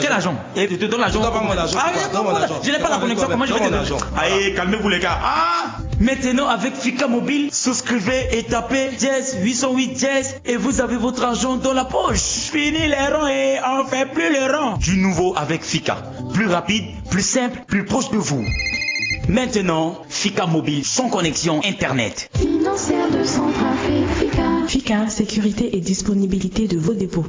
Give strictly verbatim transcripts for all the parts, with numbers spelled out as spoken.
Quel argent ? Eh, tu donnes l'argent. Ah, je n'ai pas la connexion, comment je vais te donner ? Allez, calmez-vous, les gars. Ah ! Maintenant, avec Fika Mobile, souscrivez et tapez dièse huit cent huit dièse et vous avez votre argent dans la poche. Fini les ronds et on fait plus les ronds. Du nouveau avec Fika. Plus rapide, plus simple, plus proche de vous. Maintenant, Fika Mobile sans connexion Internet. Financière de Centrafrique, Fika. Fika, sécurité et disponibilité de vos dépôts.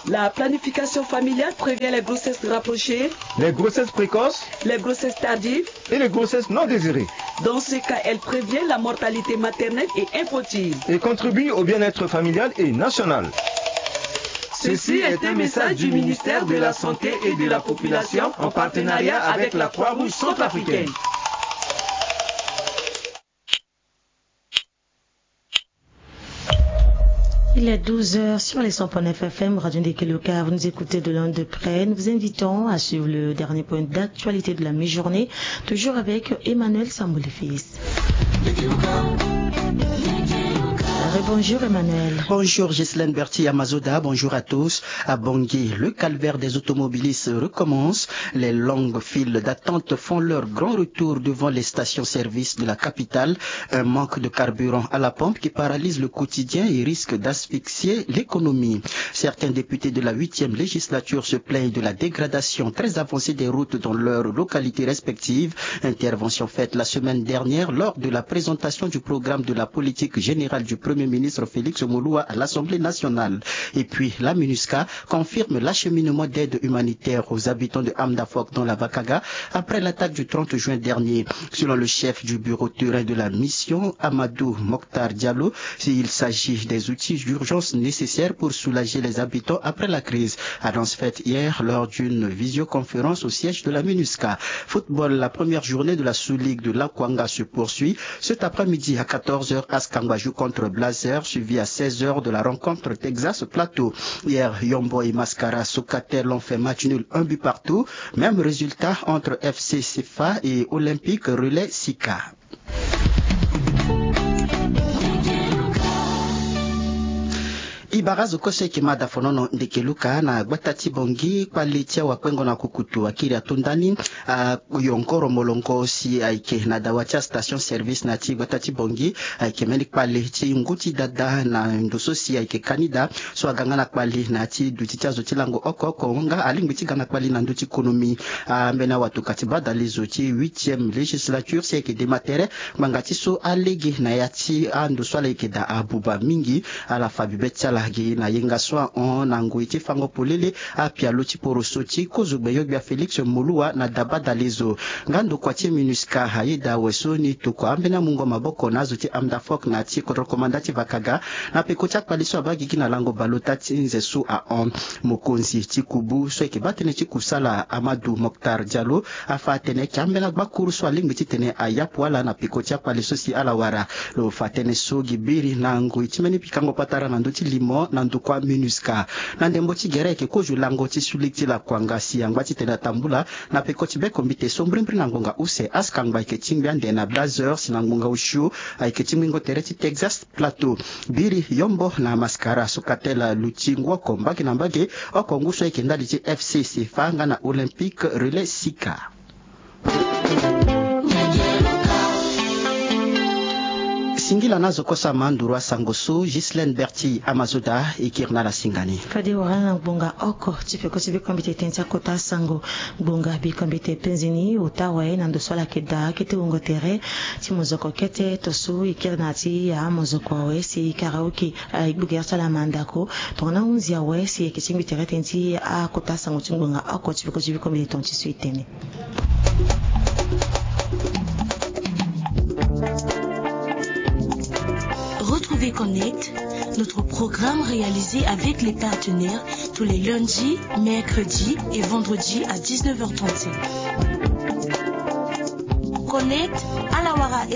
La planification familiale prévient les grossesses rapprochées, les grossesses précoces, les grossesses tardives et les grossesses non désirées. Dans ce cas, elle prévient la mortalité maternelle et infantile. Et contribue au bien-être familial et national. Ceci est un message du ministère de la Santé et de la Population en partenariat avec la Croix-Rouge centrafricaine. Il est douze heures sur les cent point neuf F M, Radio Ndekeloka. Vous nous écoutez de loin, de près. Nous vous invitons à suivre le dernier point d'actualité de la mi-journée, toujours avec Emmanuel Samboulefils. Rebonjour Emmanuel. Bonjour Ghislaine Berti Amazoda, bonjour à tous. À Bangui, le calvaire des automobilistes recommence. Les longues files d'attente font leur grand retour devant les stations-service de la capitale. Un manque de carburant à la pompe qui paralyse le quotidien et risque d'asphyxier l'économie. Certains députés de la huitième législature se plaignent de la dégradation très avancée des routes dans leurs localités respectives. Intervention faite la semaine dernière lors de la présentation du programme de la politique générale du Premier ministre Félix Moloua à l'Assemblée nationale. Et puis, la MINUSCA confirme l'acheminement d'aide humanitaire aux habitants de Hamdafok dans la Vakaga après l'attaque du trente juin dernier. Selon le chef du bureau terrain de la mission, Amadou Mokhtar Diallo, il s'agit des outils d'urgence nécessaires pour soulager les habitants après la crise. Annonce faite hier lors d'une visioconférence au siège de la MINUSCA. Football, la première journée de la Sous-Ligue de l'Akwanga se poursuit. Cet après-midi à quatorze heures, Askangba joue contre Blazers, suivi à seize heures de la rencontre Texas Plateau. Hier, Yombo et Mascara Sokatel ont fait match nul, un but partout. Même résultat entre F C Sefa et Olympique Relais Sika. E bara azo kue so ayeke mada fonono Ndekeloka na gbata ti Bangui, kpale ti awakpengo na kukutu akiri ato ndani. Ayongoro molongo si ayeke na dawa ti astation service na ya ti gbata ti Bangui, ayeke mbeni kpale ti ngu ti dada na ndo so si ayeke kanida so aga nga na kpale na ya ti duti ti azo ti lango oko oko nga alingbi ti ga na kpale na ndö ti konomi. Ambeni awatoka ti badalezo ti huitième législature si ayeke dema tere ngbanga ti so alege na ya ti ando so ala yeke daa abuba mingi. Ala fa bibe ti ala gi na yenga so ahon na ngoi ti fango polele apialo ti poroso ti kozo gbenyo-gbia Félix Moloua na da badalezo. Nga ndokua ti MINUSCA ayeda awe so ni tokua ambeni amungo maboko na azo ti Hamdafok na ya ti kodro komanda ti Vakaga na peko ti akpale so abaa gigi na lango baleota ti nze so ahon. Mokonzi ti kubu so ayeke baa tënë ti kusala Amadou Mokhtar Diallo afa atene ayeke ambeni agbakuru so alingbi titene ayapu ala na peko ti akpale so si ala wara. Lo fa tënë so gi biri na ngoi ti mbeni pikango patara na ndö ti limo na ndokua MINUSCA. Na ndembo ti gere ayeke kozo lango ti Sous-Ligue ti Lakuanga si angba titene atambula na peko ti bekombite so mbrimbri na ngbonga use Askangba ayeke tingbi ande na Blazers na ngbonga osio ayeke tingbingo tere ti Texas Plateau. Biri Yombo na Mascara Sokatel aluti ngu oko mbage na mbage oko ngu so ayeke ndali ti F C Sefa nga na Olympique Relais Sika. Singila na azo kosa ma nduru asango so Ghislaine Berti Amazoda e kiri na ala singa ni. Fade wara na ngbonga oko ti peko ti bikombite tënë ti akota asango. Ngbonga bikombite penze ni ota awe na ndo so ala yeke daa kete wungo tere ti mozoko kete to so e kiri na ya ti amozoko awe si karaoke. Aye gbogere ti ala mandako tongana ahunzi awe si e yeke tingbi tere tënë ti akota sango ti ngbonga oko ti peko ti biko mbeni tonga ti so e tene. Retrouvez Connect, notre programme réalisé avec les partenaires tous les lundis, mercredis et vendredis à dix-neuf heures trente-cinq. Connect, ala wara